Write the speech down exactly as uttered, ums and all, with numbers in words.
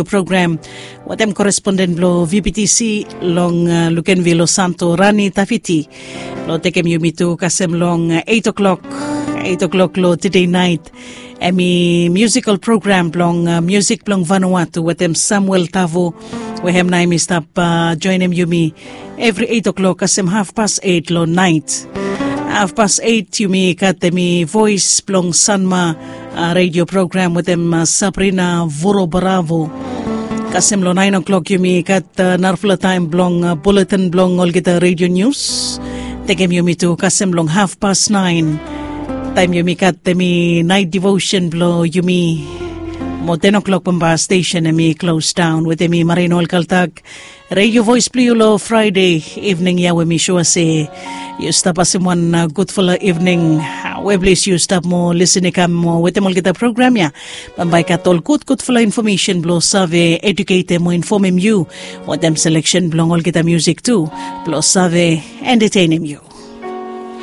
program wetem koresponden blong V P T C long uh, Lukenville Santo Rani Tafiti. Blong tekem yumi tu kasem long uh, eight o'clock, eight o'clock long today night. Em i musical program blong uh, music blong Vanuatu wetem Samuel Tavo. We hem na em i stap uh, joinim yumi every eight o'clock kasem half past eight long night. Half past eight yumi gat em i voice blong Sanma uh, radio program wetem uh, Sabrina Vuro Bravo. Kasem long nine o'clock yumi gat uh, narafala taem blong uh, bulletin blong olgeta radio news. Tekem yumi tu kasem long half past nine. Taem yumi gat em i night devotion blong yumi. Mo ten o'clock bamba station em i close down wetem i Marino Alkaltak. Radio voice blong yu long Friday evening ya we mi sua se yu stap pasim wan uh, gudfala evening. Uh, we plis yu stap mo lisin i kam mo wetem olgeta program ya. Bamba i gat ol gudgudfala infomesen blong save eduketem mo infomem yu wetem seleksen blong olgeta musik tu blong save entetenem yu.